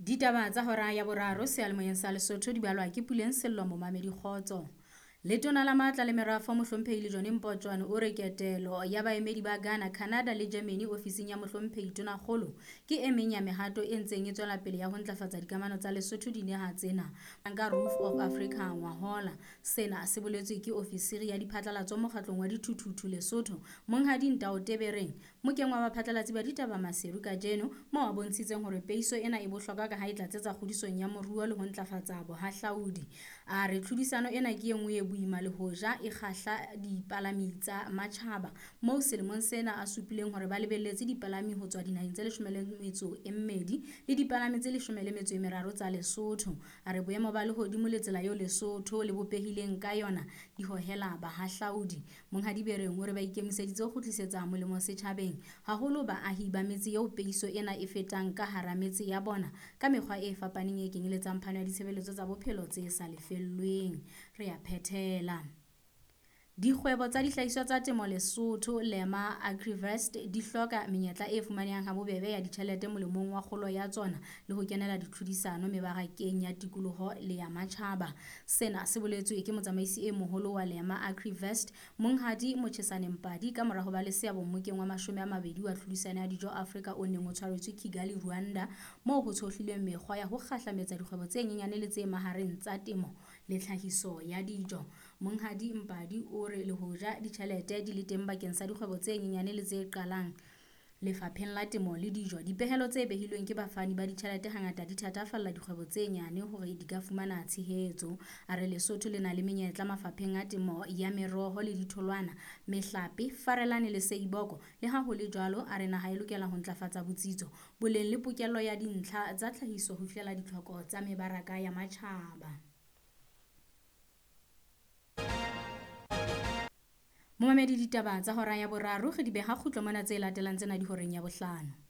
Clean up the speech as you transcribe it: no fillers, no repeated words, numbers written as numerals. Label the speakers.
Speaker 1: Ditaba tsa hora ya boraro seyalemoyeng sa Lesotho di balwa ke Puleng Sello momamedi kgotso. Letona la Matla le Merafo Mohlomphehi Lejone Mpotjoane o re ketelo ya baemedi ba Ghana, Canada le Germany ofising ya Mohlomphehi Tonakgolo ke e meng ya mehato e ntseng e tswela pele ya ho ntlafatsa dikamano tsa Lesotho dinaha tsena ka Roof of Africa ngwahola. Sena se boletswe ke ofisiri ya diphatlalatso mokgatlong wa dithuthuthu Lesotho, Monghadi Ntao Tebereng, mokeng wa baphatlalatsi ba ditaba Maseru kajeno, moo a bontshitseng hore peiso ena e bohlokwa ka ha e tlatsetsa kgodisong ya moruo le ho ntlafatsa bohahlaudi. A re tlhodisano ena ke e nngwe e boima le hoja e kgahla dipalami tsa matjhaba, moo selemong sena a supileng hore ba lebelletse dipalami ho tswa dinaheng tse 12 le dipalami tse 13 tsa Lesotho. A re boemo ba lehodimo le tsela eo Lesotho le bopehileng ka yona di hohela bahahlaudi. Monghadi Bereng o re ba ikemiseditse ho kgutlisetsa molemo setjhabeng, haholo baahi ba metse eo peiso ena e fetang ka hara metse ya bona ka mekgwa e fapaneng e kenyeletsang phano ya ditshebeletso tsa bophelo tse sa lefellweng. Re a phethela. Dikgwebo tsa dihlahiswa tsa temo Lesotho, Lema Agrivest di hloka menyetla e fumanehang habobebe ya ditjhelete molemong wa kgolo ya tsona le ho kenela ditlhodisano mebarakeng ya tikoloho le ya matjhaba. Sena se boletswe ke motsamaisi e moholo wa Lema Agrivest, Monghadi Mochesane Mpadi, ka mora ho ba le seabo mmokeng wa 20 wa tlhodisano ya dijo Afrika o neng o tshwaretswe Kigali, Rwanda, moo ho tshohlilweng mekgwa ya ho kgahlametsa dikgwebo tse nyenyane le tse mahareng tsa temo le tlhahiso ya dijo. Monghadi Mpadi o re le hoja ditjhelete di le teng bakeng sa dikgwebo tse nyenyane le tse qalang lefapheng la temo le dijo, dipehelo tse behilweng ke bafani ba ditjhelete hangata di thatafalla dikgwebo tse nyane hore di ka fumana tshehetso. A re Lesotho le na le menyetla mafapheng a temo ya meroho le ditholwana, mehlape, farelane le seiboko. Le ha ho le jwalo, a re naha e lokela ho ntlafatsa botsitso, boleng le pokello ya dintlha tsa tlhahiso ho fihlela ditlhoko tsa mebaraka ya matjhaba. Momamedi, ditaba tsa hora ya boraro re di beha kgutlo mona, tse latelang tsena di horeng ya bohlano.